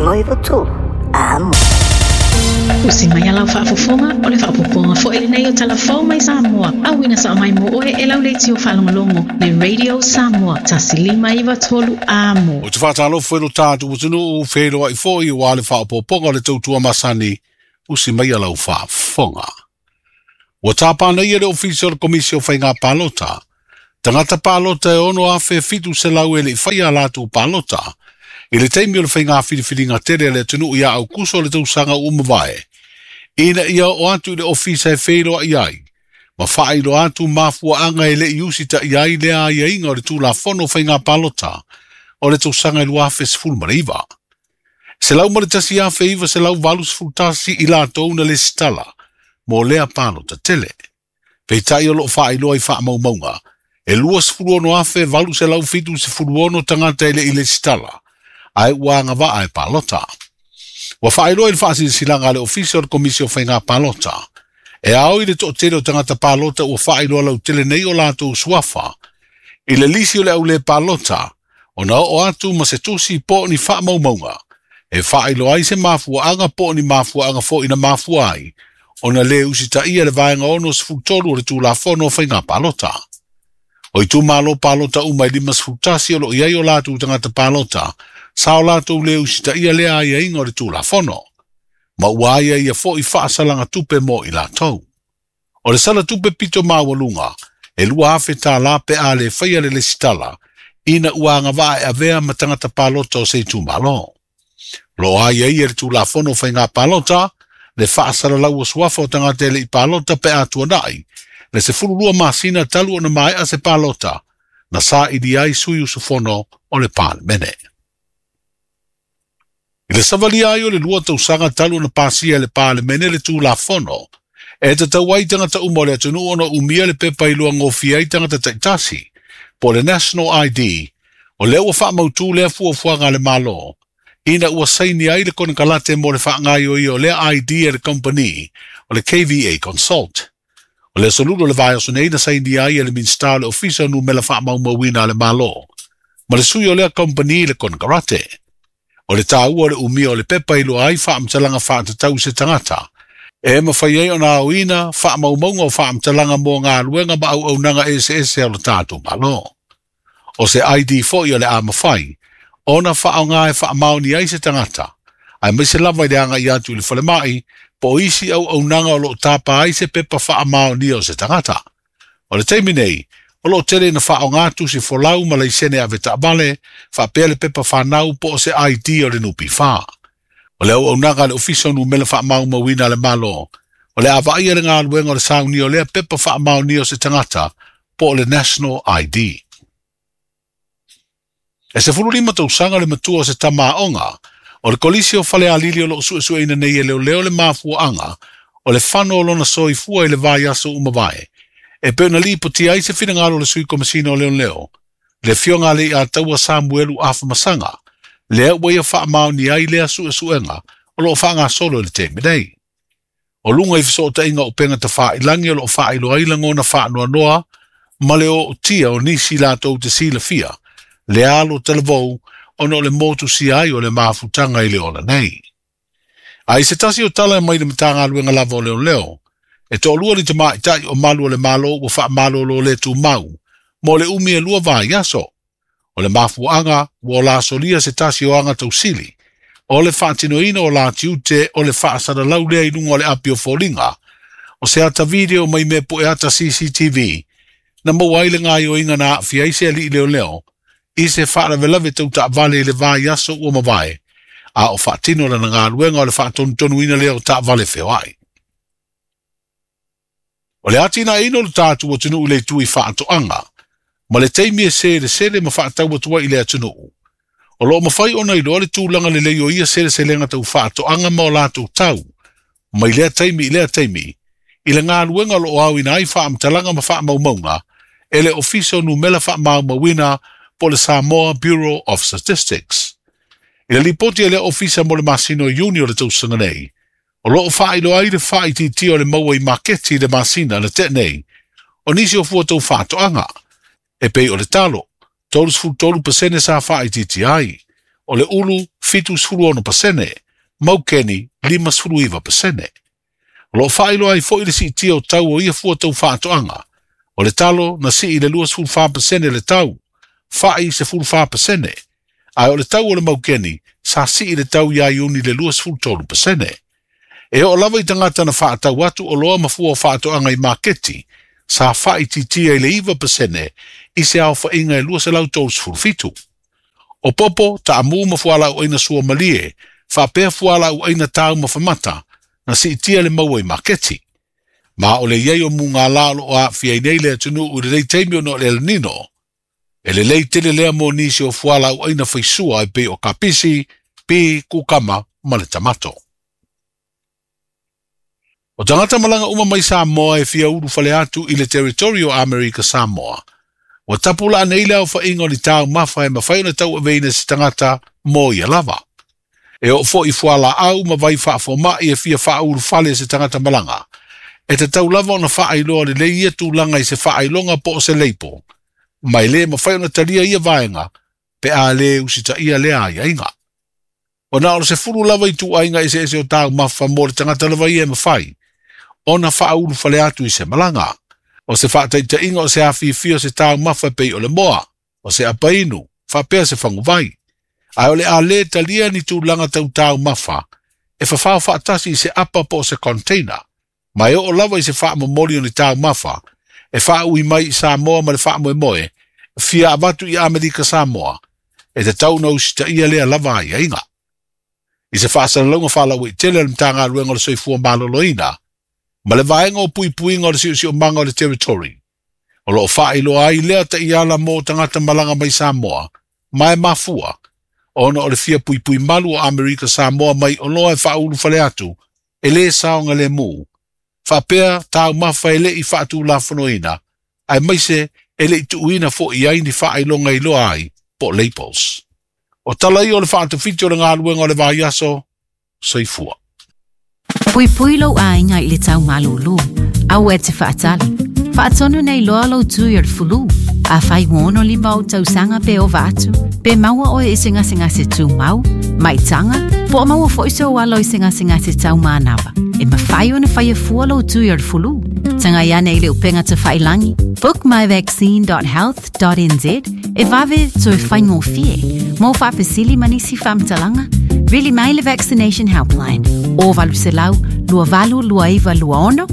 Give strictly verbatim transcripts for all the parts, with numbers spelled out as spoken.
lima iwa tolu. Amo. Usi mai a lau faafofoga o le faapopoga foʻi lenei o talafou mai Samoa auina saʻa mai mo oe e lauleiti o faalogologo le Radio Samoa tasi lima iva tolu amo. O te whātālofo e lo tātou atunuu whenua i fōi o ale whaapopoga o le tautua masani usi mai a lau faafofoga. Ua tāpāna ia le ofisa o le komisi o whainga palota. Tangata palota e ono afe fitu se lau e le i whaia lātou palota. I le taimi o le whainga whiriwhiringa tere le atunuu ia au kuso le tausaga umavae. Ina ia o atu i le ofisa e wheiloa i ai. Ma whailo atu mafua anga e le iusi ta i ai lea ia inga o le tūlafono whainga palota o le tausaga i luafe sefulu ma le iva. Se lau ma le tasi afe iva se lau valu sefulu tasi i lātou na le sitala mo lea palota tele. Peitai o loo whailoa i whaamaumaunga. E lua sefulu ono afe valu se lau fitu sefulu ono tangata e le i le sitala. Ai ua anga e palota. Ua whaeloa i le whaasilisilanga le ofisa o le komisi o whainga palota. E ao i le to'atele o tangata palota ua whaeloa lau tele nei o lātou suafa. I le lisi o le au le palota, o na o atu ma se tusi po ni whaamaumaunga. E whaeloa ai se mafua anga po ni mafua anga fo ina mafua ai. O na le usita ia le vaenga ono sefulu tolu o le tūlafono o whainga palota. O i tūmalo palota umai lima sefulu tasi o lo iai o lātou tangata palota, sa o lātou le usita ia lea ia inga o le tūlafono. Ma ua aia ia fo i whaasalanga tupe mo i lātou. O le sala tupe pito mawalunga, e lua afe tā lape a le whaia le lesitala, ina ua anga waa e avea ma tangata palota o se tūmalo. Lo aia ia le tūlafono whainga palota, le whaasala lau o suafa o tangata le i palota pe atua nai, le se fululua masina talu o na mai a se palota, na sa ili ai sui usufono o le palemene. I le savalia ai o le lua tausaga talu na pasia le palemene le tūlafono, e tatau ai tangata uma o le atunuu ona umia le pepa i lua ngofia ai tangata taitasi, po le National I D, o lea ua whaamautū lea fuafuaga le Malo, ina ua saini ai le konekarate mo le whaangaio ia o lea I D e le company o le K V A Consult. O le solulo le vai aso nei na saini ai e le Minista o le Ofisa o Numela Whaamaumauina le Malo, ma le sui o lea company le konekarate. O le tāua o le umia o le pepa i loa ai whaamtalanga whaatatau se tangata. E mawhai ai o nā oina, whaamaumaunga o whaamtalanga mō ngā luenga ma au aunanga S S o le tātou malo. O se I D fo i o le a mawhai, ona whaonga e whaamaoni ai se tangata. Ai mai se lava i le anga i atu i le whalemai, po isi au aunanga o lo tāpa ai se pepa whaamaoni o se tangata. O le teimi nei, o lo tele na whaonga atu si folau ma leisene ave taavale, whaapea le pepa whanau po o se I D o le nupi wha. O le au aunanga le ofisa o numela whaamaumauina le malo. O le awaia le ngā luenga o le sauni o lea pepa whaamaoni o se tangata po o le National I D. E se fululima tausaga le matua o se tamaonga, o le kolisi o whalealili o loo suesueina nei e leo leo le mafuaanga, o le whano o lona soifua i le vai aso umavae. E pe na lipo ti ai se whinangalo le sui komisina o leo leo, le fionga le i a taua Samuelu Afamasanga, lea ua ia whaamaoni ai lea suesuenga o loo whaanga solo i le teimi nei. O lunga i whasotainga o penga ta whaailangi o loo whaailo ai langona whaanoa noa, ma le o tia o nisi lātou te silafia, le alo talavou ona o le motu si ai o le mafutanga i le ola nei. Ai se tasi o tala e mai le matanga aluenga lava o leo leo, e to'alua li tamaitai o malu o le malo ua whaamalo lo le tūmau, mo le umi e lua vai aso. O le mafuanga ua o lasolia se tasi o anga tausili, o le whaatinoina o la tiute o le whaasara lau lea i lunga o le api o fōlinga, o se ata video mai me po e ata C C T V, na maua ai le ngai o inga na awhia i se ali i leo leo, i se whaaravelave tau taavale i le vai aso ua mavae, a o whaatino la na ngā luenga o le whaatonutonuina lea o taavale wheoai. O le atina ino le tātu o tunu le tui whaatoanga, ma le teimi e sele sele ma whaatau atua i le atunuu. O loo mawhai ona i loa le tūlanga le leo ia sele selenga tau whaatoanga ma o lātou tau, mai lea teimi i lea teimi, i le ngā luenga lo au ina ai whaamtalanga ma whaamaumaunga, e le ofisa o numela whaamaumauina po le Samoa Bureau of Statistics. I le lipoti e le ofisa mo le masino iuni o le tausaga nei, o loo whailo ai le whaititi o le maua i maketi le masina le te nei, o nisi o fua tau whaatoanga, e pei o le talo, tolu sefulu tolu pasene sa whaititi ai, O le ulu fitu sefulu ono pasene, maukeni lima sefulu iva pasene. O loo faailoa ai fo'i le siitia o tau o ia fua tau faatoaga. O le talo na sii le lua sefulu fa pasene le tau, fa'i sefulu fa pasene. Ae o le tau o le maukeni sa sii le tau ia Iuni le lua sefulu tolu pasene. E oo lava i tagata na faatau atu oloa ma fua o faatoaga i maketi, sa faaitiitia i le iva pasene i se aofaiga e lua selau tolu sefulu fitu. O popo, taamū ma fualaauaina suamalie, faapea fualaauaina taumafamata, na siitia le maua i maketi. Ma o le iai o mugālā o loo aafia ai nei le atunuu i lenei taimi ona o le El Nino, e lelei tele lea mo nisi o fualaauaina faisua e pei o kapisi, pi, kukama ma le tamato. O tagata malaga uma mai Samoa e fia ulu fale atu i le territory o Amerika Samoa. Ua tapulaa nei le aofaiga o ni taumafa e mafai ona tauaveina e se tagata mo ia lava. E oo fo'i fualaau ma vai faafoma'i e fia faaulufale e se tagata malaga. E tatau lava ona faailoa lelei ia tulaga i se faailoga po o se leipo. Ma e lē mafai ona talia ia vaega pe a lē usitaia lea aiaiga. Ua na o le sefulu lava ituaiga eseese o taumafa mo le tagata lava ia e mafai ona faaulufale atu i se malaga. O se faataitaiga o se afiafia o se taumafa e pei o le moa, o se apainu, faapea se faguvai. Ae o le a lē talia ni tulaga tau taumafa e fafao faatasi i se apa po o se container. Ma e oo lava i se faamomoli o ni taumafa e faaui mai i Samoa ma le faamoemoe fia avatu i Amerika Samoa e tatau ona usitaia lea lava aiaiga. I se faasalalauga faalauaitele a le Matagaluega o le Soifua Maloloina ma le vaega o puipuiga o le siosiomaga o le territory, o loo faailoa ai lea taiala mo tagata malaga mai Samoa ma e mafua ona o le fia puipui malu o Amerika Samoa mai oloa e faaulufale atu e lē saogalemu, faapea taumafa e le'i faatulafonoina aemaise e le'i tuuina fo'i ai ni faailoga iloa ai po o labels. O tala ia o le faatafiti o le galuega o le vaiaso. Soifua. Puipui lou aiga i le tau malūlū. Aua e te faatali. Faatonu nei loa lou tui o le fulu. Afai ua ono lima ou tausaga pe ova atu, pe maua oe i se gasegase tumau, maitaga, po o maua foi sou alo i se gasegase taumanava. E mafai ona faia fua lou tui o le fulu. Tagai ane i le upega tafailagi, book my vaccine dot health dot n z e vave toe faigofie. Mo faafesili ma nisi faamatalaga, vili mai le Vaccination Helpline o valu selau lua valu lua iva lua ono,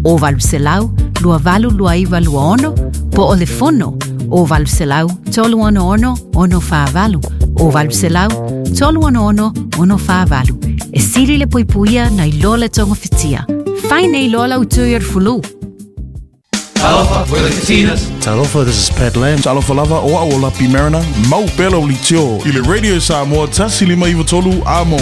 o valu selau lua valu lua iva lua ono, po o le fono o valu selau tolu ono ono ono whaavalu, o valu selau tolu ono ono ono whaavalu. E sili le puipuia nei loa le tonga fitia. Fai nei loa lau tui o le fulu. Talofa, we're the Katinas. Talofa, this is Pat Lam. Talofa lava, o au o Lapi Mariner. Mau pela o litio. I le Radio Samoa, tasi lima iwa tolu, amo.